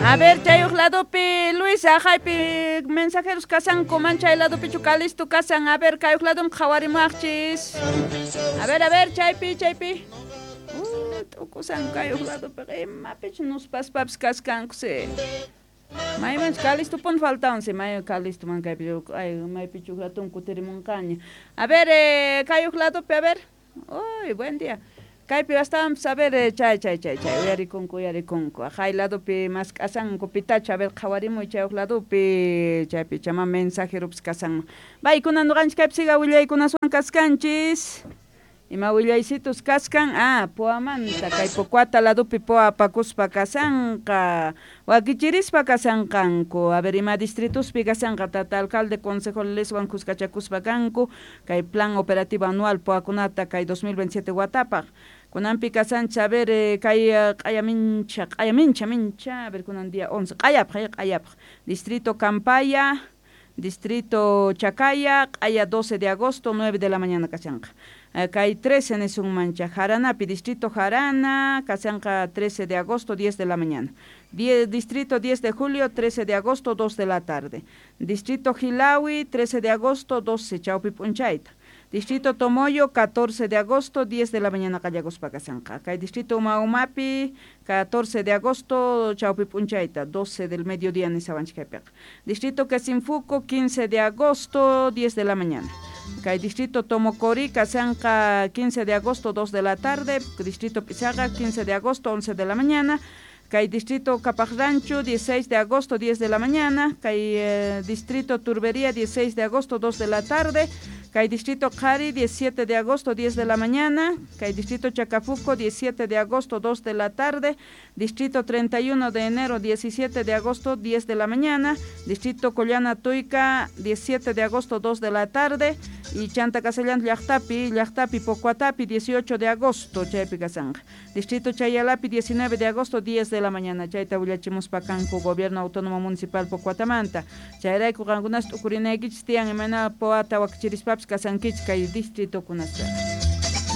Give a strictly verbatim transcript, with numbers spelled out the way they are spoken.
A ver, chay uj ladopi, Luisa, jaypi mensajeros kasanku, man chay ladopichu Calisto kasan. A ver, kay uj ladom qhawarimuwaqchis. A ver, a ver, chaypi, chaypi. Uh, t'ukusan kay uj ladopi, imapich nuspaspapis kaskanku, si. Maymanchu Calisto pun faltawan, si, may Calisto man kaypi, ay, maypichu uj ratun kutirimunqaña. A ver, eh, kay uj ladopi, a ver. Uy, buen día. Kaypi astawanpis, a ver, eh, chay, chay, chay, chay, uyarikunku, uyarikunku. Jay ladopi mask'asanku pitachu, a ver, qhawarimuy chay uj ladopi, chaypi chama mensajeropis kasanman. Baykuna nuqanchik kaypi siga willaykunaswan kaskanchis. Ima willaysitus kaskan, ah, Poamanta, kay Pocuata ladopi poa apakuspa kasanqa, wakichirispa kasanqanku, a ver, ima distrituspi kasanqa, tata alcalde consejo leswan kuskachakuspa kanku, kay plan operativo anual poakunata kay dos mil veintisiete watapaq. Kunanpi kasancha, a ver, eh, kay q'ayamincha, q'ayamincha, mincha, a ver, kunan día once, q'ayapaq, q'ayapaq, distrito Campaya, distrito Chacaya, q'aya doce de agosto, nueve de la mañana kasanqa. Kay trece nisunmancha, Jaranapi, distrito Jarana, kasanqa trece de agosto, diez de la mañana. Die, distrito diez de julio, trece de agosto, dos de la tarde. Distrito Gilawi, trece de agosto, doce, chaupi p'unchayta. Distrito Tomoyo, catorce de agosto, diez de la mañana, Callagospa kasanqa. Kay distrito Umaumapi, catorce de agosto, chaupi p'unchayta, doce del mediodía, nisawanchikaypiqa. Distrito Quesinfuco, quince de agosto, diez de la mañana. Kay distrito Tomocori, kasanqa, quince de agosto, dos de la tarde. Distrito Pizaga, quince de agosto, once de la mañana. Kay distrito Capajrancho, dieciséis de agosto, diez de la mañana. Kay eh, distrito Turbería, dieciséis de agosto, dos de la tarde. Kay distrito Cari, diecisiete de agosto, diez de la mañana. Kay distrito Chacafuco, diecisiete de agosto, dos de la tarde. Distrito treinta y uno de enero, diecisiete de agosto, diez de la mañana. Distrito Collana Tuica, diecisiete de agosto, dos de la tarde. Y Chanta Castellán, Llaqtapi, Llaqtapi, Pocuatapi, dieciocho de agosto, chaypi kasanja. Distrito Chayalapi, diecinueve de agosto, diez de la mañana. Chayta willachimuspa kanku, Gobierno Autónomo Municipal Pocuatamanta. Chayrayku qankunas t'ukurinaykichis tiyan, imana poata wakichirispapis kasankichis kay distrito kunaspa.